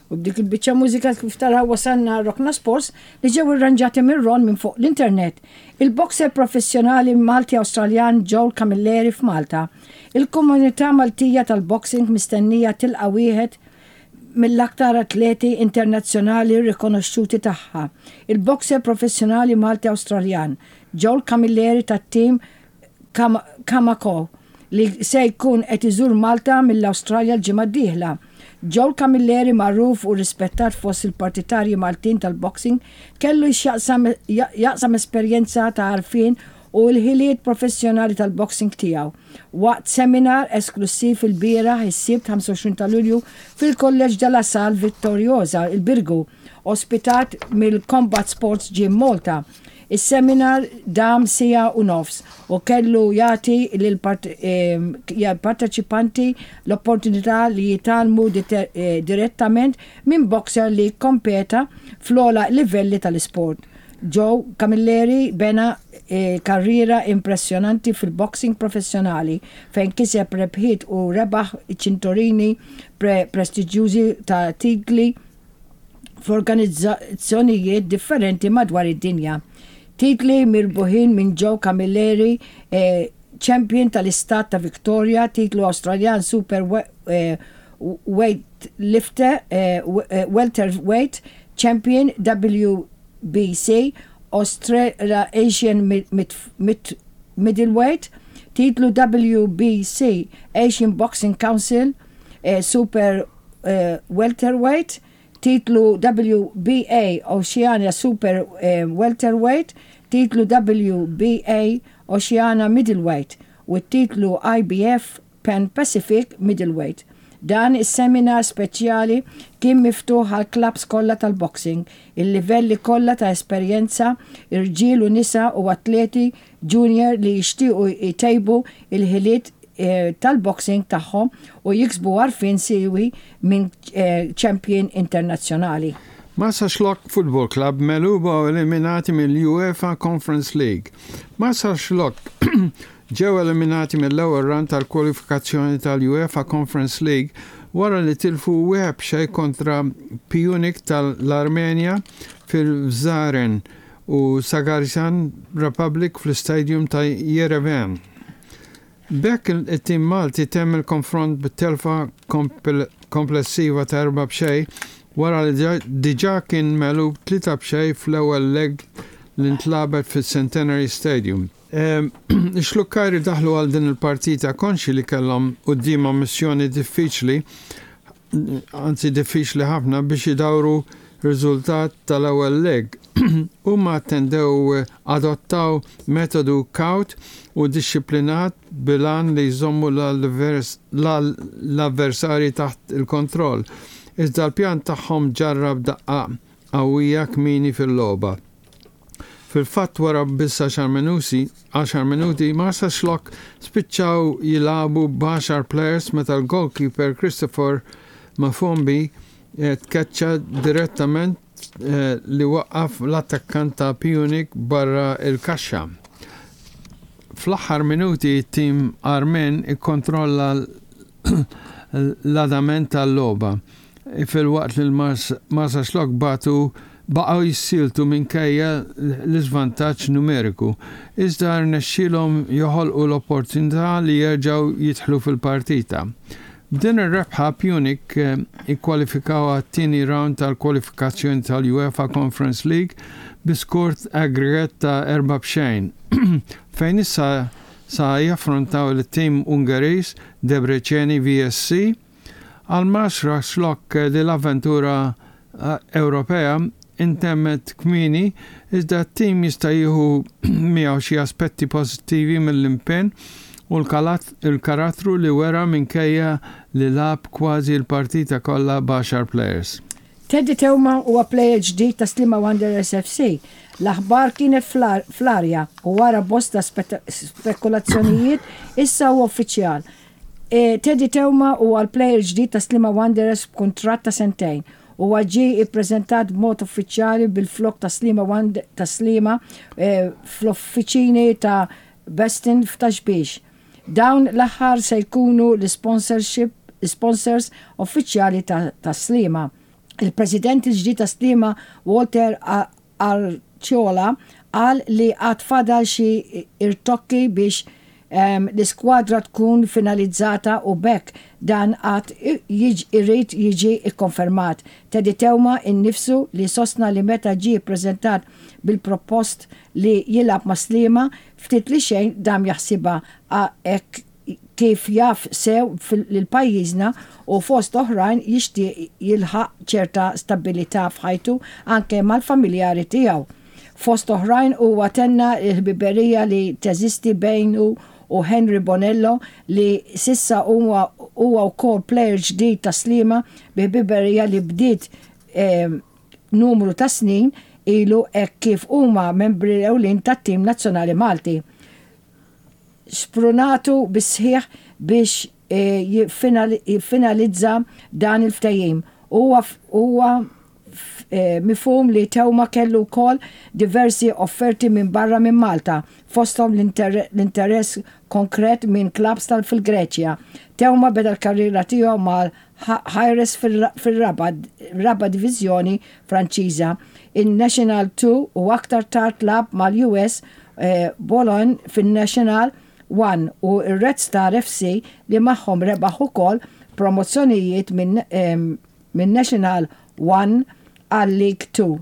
U b'dik il-biċċa mużika kif taraw wasalna Rokna Sports li ġew irranġati minn Ron minn fuq l-internet. Il-boxer professjonali Malti-Awstraljan Joel Camilleri f'Malta. Il-komunità Maltija tal-boxing mistennija tilqa' wieħed mill-aktar atleti internazzjonali rikonoxxuti tagħha, il-boxer professjonali Malti-Awstraljan Joel Camilleri tat-tim Kamako li se jkun qed iżur Malta mill-Awstralja l-ġimgħa d-dieħla. Joel Camilleri magħruf u rispettat fost il-partitarji Maltin tal-boxing kellu jaqsam esperjenza ta' għarfien u l-ħiliet professjonali tal-boxing tiegħu waqt seminar esklussiv ilbieraħ is-Sibt 25 ta' Lulju fil-Kulleġġ De La Salle Vittoriosa, il-Birgu, ospitat mill-Combat Sports Gym Malta. Is-seminar dam siegħa u nofs u kellu jagħti lill-parteċipanti l-opportunità li jitgħallmu direttament minn boxer li kkompeta fl-ogħla livelli tal-isport. Joe Camilleri bena karriera impressjonanti fil-boxing professjonali fejn kiseb rebħiet u rebaħ ċintorini prestiġjużi ta' titli f'organizzazzjonijiet differenti madwar id-dinja. Titli mirbuħin minn Joe Camilleri, Champion tal-Istat ta' Victoria, titlu Awstraljan Super Weightlifter, Welterweight Champion WBC, Australasian Middleweight, titlu WBC Asian Boxing Council Super Welterweight, titlu WBA Oceania Super Welterweight, titlu WBA Oceania Middleweight u t-titlu IBF Pan Pacific Middleweight. Dan is-seminar speċjali kien miftuħ għall-klabbs kollha tal-boxing, il-livelli kollha ta' esperjenza, irġiel u nisa u atleti junior li jixtiequ jtejbu l-ħiliet tal-boxing tagħhom u jiksbu għarfien siewi minn champion internazzjonali. Marsaxlokk Football Club megħluba u eliminati mill-UEFA Conference League. Marsaxlokk ġew eliminati mill-ewwel round tal-kwalifikazzjoni tal-UEFA Conference League wara li tilfu 1-0 kontra Pyunik tal-Armenja fil-Vzaren u Sagarjan Republic fl-Istadium ta' Yerevan. B'hekk it-tim Malti temm il-konfront b'telfa komplessiva ta' 4-0 wara li diġà kien megħlub 3-0 fl-ewwel leg li ntlagħbet fis-Centenary Stadium. Ix-Xlukkajri daħlu għal din il-partita konxji li kellhom quddiemhom missjoni diffiċli anzi diffiċli ħafna biex idawru r-riżultat tal-ewwel leg. Huma attendew adottaw metodu kawt u dixxiplinat bil-għan li jżommu l-avversarji taħt il-kontroll, iżda l-pjan tagħhom ġarrab daqqa qawwija kmieni fil-logħba. Fil-fatt wara biss għaxar minuti, għaxar minuti, Marsaxlokk spiċċaw jilagħbu b'għaxar plejers meta l-goalkeeper Christopher Mafombi tkeċċa direttament li waqqaf l-attakkant ta' Pyunik barra l-kaxxa. Fl-aħħar minuti t-tim Armen ikkontrolla l-adament tal-logħba filwaqt li l-Marsaxlokk bagħtu baqgħu jissieltu minkejja l-iżvantaġġ numeriku, iżda rnexxielhom joħolqu l-opportunità li jerġgħu jidħlu fil-partita. B'din ir-rebħa Pyunik ikkwalifikaw għat-tieni round tal-kwalifikazzjoni tal-UEFA Conference League bi skor aggregate ta' 4-0 fejn issa sa jaffrontaw lit-tim Ungeriż Debreceni VSC Għal Marsaxlokk li l-avventura Ewropea intemmet kmieni iżda t-tim jista' jieħu miegħu xi aspetti pożittivi mill-impenn u l-karattru li wera minkejja li lagħab kważi l-partita kollha b'għaxar plejers. Teddy Teuma huwa plejer ġdid ta' Sliema Wanderers FC. L-aħbar kienet fl-arja u wara bosta spekulazzjonijiet issa huwa uffiċjal. Teddy Teuma huwa l-plejer ġdid ta' Sliema Wanderers b'kuntratt ta' sentejn. Huwa ġie ippreżentat b'mod uffiċjali bil-flokk ta' Sliema ta' Sliema fl-uffiċini ta' Beston f'Ta' Xbiex. Dawn l-aħħar se jkunu l-isponsors uffiċjali ta' Sliema. Il-President il-ġdid ta' Sliema Walter Arciola qal li għad fadal xi irtokki biex l-iskwadra tkun finalizzata u b'hekk dan għad irid jiġi kkonfermat. Teddy Teuma innifsu li sostna li meta ġie ppreżentat bil-propost li jilgħab ma' Sliema ftit li xejn dam jaħsibha hekk kif jaf sew lil pajjiżna u fost oħrajn jixtieq jilħaq ċerta stabbilità f'ħajtu anke mal-familjari tiegħu. Fost oħrajn huwa tenna l-ħbiberija li teżisti bejnu u Henry Bonello li s'issa huwa wkoll plejer ġdid ta' Sliema bi ħbiberija li bdiet numru ta' snin ilu hekk kif huma membri ewlin tat-tim nazzjonali Malti. Sprunatu bis-sħiħ biex jiffinalizza dan il-ftehim. Huwa huwa mifhum li Theuma kellu wkoll diversi offerti minn barra minn Malta, fosthom l-interess konkret minn klabbs fil-Greċja. Theuma beda l-karriera tiegħu mal Hyres fir-raba' diviżjoni Franċiża, in-National 2 u aktar tard lagħab mal-US Boulogne fin-National 1 u r-Red Star FC li magħhom rebaħ ukoll promozzjonijiet min-National 1 għal-League 2.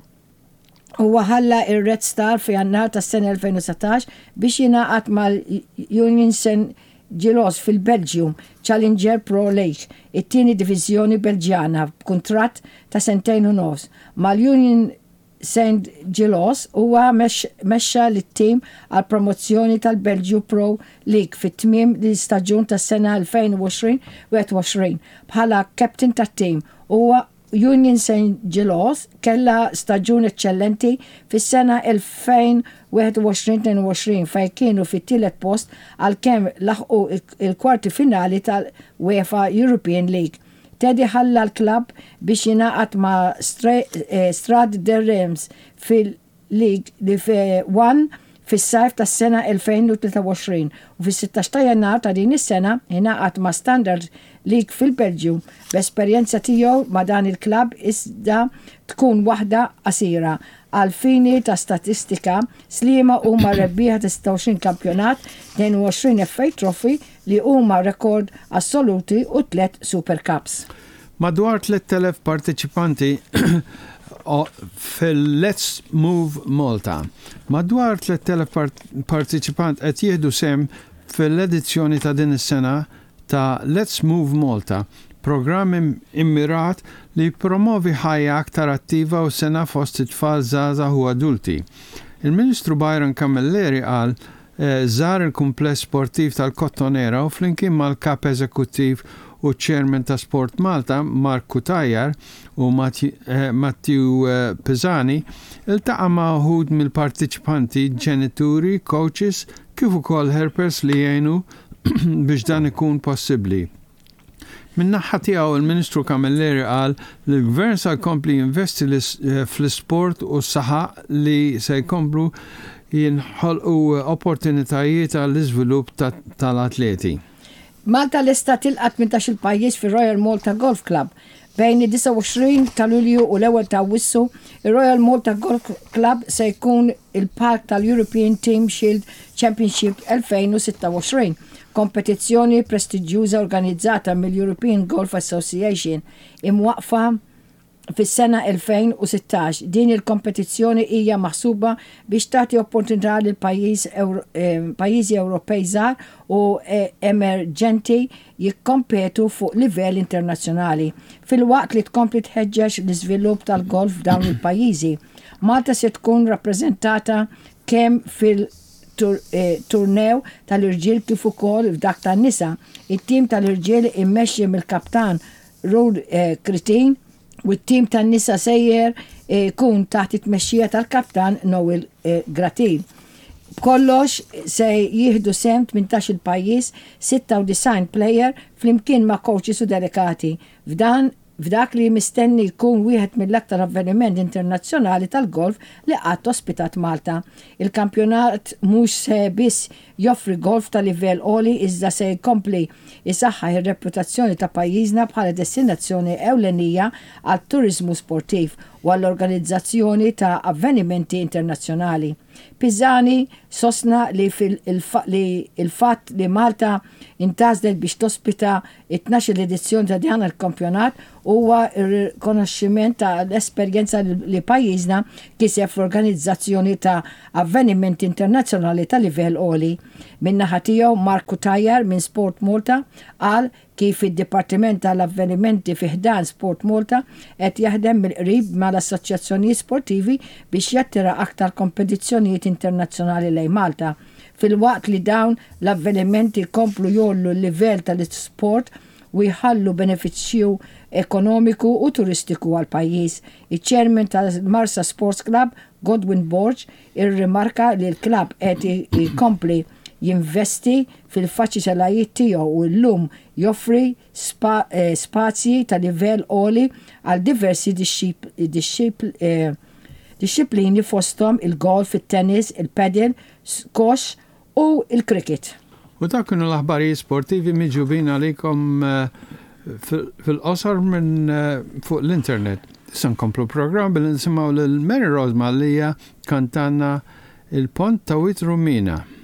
Huwa ħalla r-Red Star f'Jannar tas-sena 2019 biex jingħaqad mal-Union Saint-Gilloise fil-Belġju Challenger Pro League, it-tieni diviżjoni Belġjana b'kuntratt ta' sentejn u nofs. Mal-Union Saint-Gilloise huwa mexxa lit-tim għall-promozzjoni tal-Belġju Pro League fi tmiem l-istaġun tas-sena 2020-21 bħala captain tat-tim. Huwa Union Saint-Gilloise kellha staġun eċċellenti fis-sena 2021-22 fejn kienu fit-tielet post għalkemm laħqu l-kwarti finali tal-UEFA European League. Teddy ħalla l-klabb biex jingħaqad ma' Stade de Reims fil League 1 fis-sajf tas-sena 2023 u fis-16 ta' Jannar ta' din is-sena ingħaqad ma' Standard League fil-Belġju b'esperjenza tiegħu ma' dan il-klabb iżda tkun waħda qasira. Għall-fini ta' statistika, Sliema huma rebbieħa ta' 26 kampjonat, 22 FA Trophy li huma rekord assoluti u tlett Super Cups. Madwar 3,000 parteċipanti fil-Let's Move Malta. Madwar 3,000 parteċipant qed jieħdu sehem fil-edizzjoni ta' din is-sena ta' Let's Move Malta, programm immirat li jippromovi ħajja aktar attiva u sena fost it-tfal żgħażagħ u adulti. Il-Ministru Byron Camilleri qal Żar il-kumpless sportiv tal-Kottonera u flimkien mal-Kap Eżekuttiv u Chairman ta' Sport Malta, Mark Cutajar u Matthew Pisani, iltaqa' ma' uħud mill-partiċipanti, ġenituri, coaches kif ukoll helpers li jgħinu biex dan ikun possibbli. Min-naħha tiegħu il-Ministru Camilleri qal li l-Gvern sa jkompli jinvesti fl-isport u saħaq li se jkomplu jinħolqu opportunitajiet għall-iżvilupp tal-atleti. Malta lesta tilqa' 18-il pajjiż fir-Royal Malta Golf Club. Bejn id-29 ta' Lulju u l-ewwel ta' Awwissu, ir-Royal Malta Golf Club se jkun il-palk tal-European Team Shield Championship 2026, kompetizzjoni prestiġjuża organizzata mill-European Golf Association, imwaqqfa fis-sena 2016. Din il-kompetizzjoni hija maħsuba biex tagħti opportunità lil pajjiżi Ewropej żgħar u emerġenti jikkompetu fuq livell internazzjonali, filwaqt li tkompli tħeġġeġ l-iżvilupp tal-golf f'dawn il-pajjiżi. Malta se tkun rappreżentata kemm fil-turnew tal-irġiel kif ukoll f'dak tan-nisa. It-tim tal-irġiel immexxi mill-kaptan Ruud Kritin u t-tim tan-nisa sejjer ikun taħt it-tmexxija tal-kaptan Noel Gratin. B'kollox se jieħdu sehem 18-il pajjiż, 96 plejer flimkien ma' coaches u delegati. F'dan f'dak li mistenni jkun wieħed mill-aktar avveniment internazzjonali tal-golf li qatt ospitat Malta. Il-kampjonat mhux se biss joffri golf ta' livell għoli iżda se jkompli jsaħħaħ ir-reputazzjoni ta' pajjiżna bħala destinazzjoni ewlenija għat-turiżmu sportiv u għall-organizzazzjoni ta' avvenimenti internazzjonali. Pisani sostna li li l-fatt li Malta ntgħażlet biex tospita t-tnax-il edizzjoni ta' dan il-kampjonat huwa rikonoxximent ta' l-esperjenza li pajjiżna kiseb fl-organizzazzjoni ta' avvenimenti internazzjonali ta' livell għoli. Min-naħa tiegħu Mark Cutajar minn Sport Malta qal kif id-Dipartiment tal-Avvenimenti fi ħdan Sport Malta qed jaħdem mill-qrib mal-assoċjazzjonijiet sportivi biex jattira aktar kompetizzjonijiet internazzjonali lejn Malta, filwaqt li dawn l-avvenimenti jkomplu jgħollu l-livell tal-isport u jħallu benefiċċju ekonomiku u turistiku għall-pajjiż. Iċ-Chairman tal-Marsa Sports Club, Godwin Borg, irrimarka li l-klabb qed ikompli jinvesti fil-faċitalajiet tiegħu u llum joffri spazji ta' livell għoli għal diversi dixxiplini fosthom il-golf, it-tennis, il-padel, squash u l-cricket. U dawk kienu l-aħbarijiet sportivi miġjubin għalikom fil-qosor minn fuq l-internet. Issa nkomplu l-programm billi nisimgħu lil Mary Rose Mallia tkantanna Il-Pont ta' Wied Rummina.